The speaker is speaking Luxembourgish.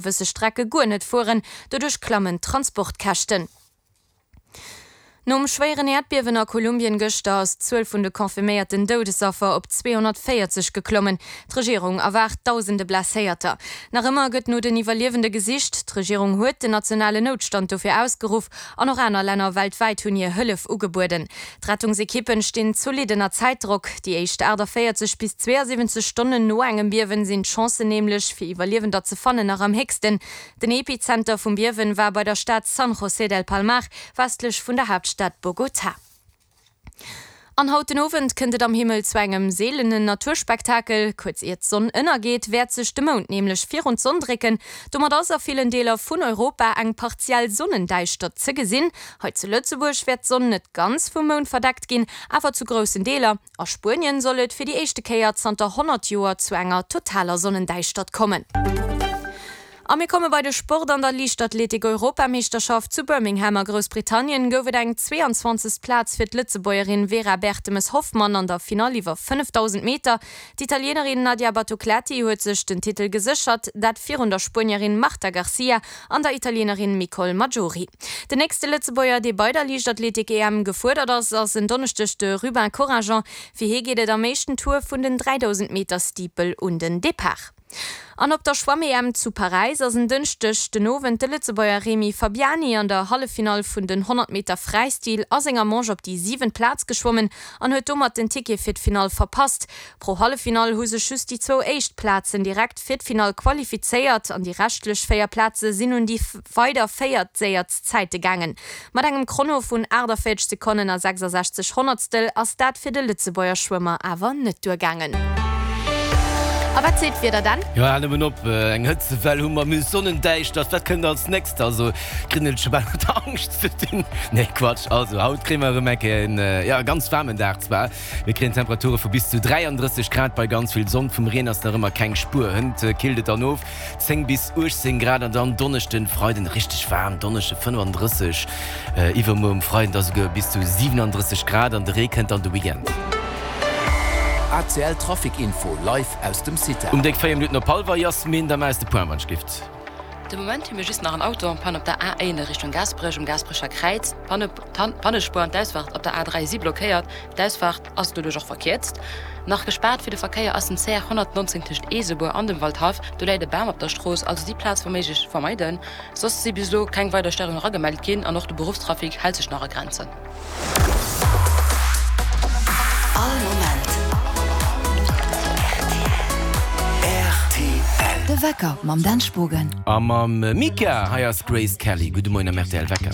Gewësse Strecke guer net fueren, doduerch klammen d'Transportkäschten. Nom schwéieren Äerdbiewen a Kolumbien gëschter ass d'Zuel vun de confirméierten Doudesaffer op 240 geklommen. D'Regierung erwaart dausende Blesséierter. Nach ëmmer gëtt no den Iwwerliewende gesicht. D'Regierung huet den nationalen Noutstand dofir ausgeruff an och aner Länner weltwäit hunn hir Hëllef ugebueden. D'Rettungsekippen stinn zolidd ënner Zäitdrock. Déi éischt 48 bis 72 Stonnen no engem Biewen sinn d'Chancen nämlech, fir Iwwerliewender ze fannen, nach am héchsten. Den Epizenter vum Biewen war bei der Stad San José del Palmar, westlech vun der Haaptstad Bogotá. An haut den Owend kënnt et am Himmel zu engem seelenen Naturspektakel. Kuerz ier d'Sonn ënnergeet, wäert sech de Mound nämlech virun d'Sonn drécken. Domat ass a villen Deeler vun Europa eng partiell Sonnendäischtert ze gesinn. Hei zu Lëtzebuerg wäert d'Sonn net ganz vum Mound verdeckt ginn, awer zu groussen Deeler. A Spuenien soll et fir déi éischte Kéier zanter 100 Joer zu enger totaler Sonnendäischtert kommen. A mir komme bei de Sport. An der Liichtathletik-Europameeschterschaft zu Birmingham a Groussbritannien gouf et eng 22. Plaz fir d'Lëtzebuergerin Vera Bertemes-Hoffmann an der Finall iwwer 5000 Meter. D'Italienerin Nadia Battocletti huet sech den Titel geséchert, dat virun der Spuenierin Marta Garcia an der Italienerin Micol Maggiori. Den nächste Lëtzebuerger, dee bei der Liichtathletik-EM gefuerdert ass, ass en Donneschdeg de Rubin Corringent. Fir hie geet et am éischten Tour vun den 3000 Meter Steeple un den Depart. An op der Schwamm-EM zu Paräis ass en Dënschdeg den Owend de Lëtzebuerger Remy Fabiani an der Halleffinall vun den 100 Meter Fräistil a senger Manche op déi siwent Plaz geschwommen an huet domat den Ticket fir d'Finall verpasst. Pro Halleffinall hu sech just déi zwou éischt Plazen direkt fir d'Finall qualifizéiert an déi reschtlech 4 Plaze sinn un déi weider 4 séierst Zäite gaangen. Mat engem Chrono vun 48 Sekonnen a 66 Honnertstel ass dat fir de Lëtzebuerger Schwëmmer awer net duergaangen. A wat seet d'Wieder dann? Jo, hal nëmmen op, eng Hëtzewell hu mer, mir hu Sonnendäischtert, wat kënnt als nächst? Also, kritt een et scho bal mat der Angscht ze dinn. Nee, Quatsch, also haut kréie mer erëm eng Kéier en, jo, ganz waarmen Dag zwar. Mir kréien Temperature vu bis zu 33 Grad bei ganz vill Sonn. Vum Reen ass nach ëmmer keng Spuer. Hënt killt et dann of, 10 bis 18 Grad an dann Donneschden, Freiden richteg waarm, Donneschde 35, iwwermuer um Freiden da souguer bis zu 37 Grad an de Ree kënnt dann de Weekend. ACL Trafic Info live aus dem CITAR. Um déck 4 Minutten op hallwer, Yasmine, da maach eis de Point, wann ech gift. De Moment hu mir just nach en Auto en panne op der A1 a Richtung Gaasperech um Gaasperecher Kräiz. D'Pannespuer an d'Ausfahrt op der A3 si blockéiert, d'Ausfahrt ass doduerch och verkierzt. Nach gespaart fir de Verkéier ass den CR 119 tëscht Eesebuer an dem Waldhaff. Do läit e Bam op der Strooss, also déi Plaz wa méiglech vermeiden. Soss si bis elo keng weider Stéierungen eragemellt ginn an och de Beruffstrafic hält sech nach a Grenzen. All Moment rtl. De Wecker mam Dan Spogen. A mam Mika, hei ass d'Grace Kelly. Gudde Moien am rtl Wecker.